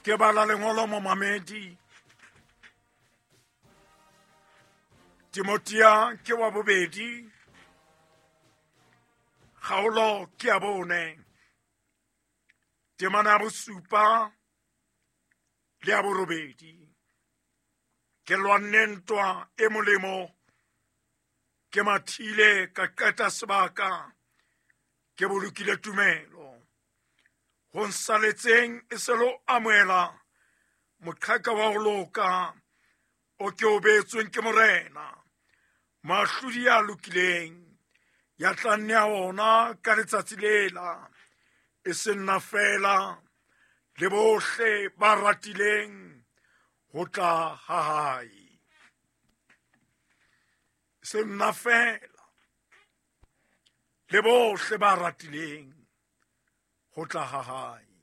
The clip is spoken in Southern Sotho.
Ke bala lengolo momamedi. Timotia ke wa bobedi. Kgaolo ke ya bone. Temana ya bosupa le ya borobedi. Ke lwanne ntwa e molemo. Ke mathile ka qeta sebaka. Ke bolokile tumelo. Ho nsaletseng e se lo amohela moqhaka wa ho loka o ke o beetsweng ke morena mahlodi ya lokileng ya tla nea ona ka letsatsi lela e se nna fela le bohle ba ratileng ho tla ha hae se nna fela le bohle ba ratileng ho tla ha hae.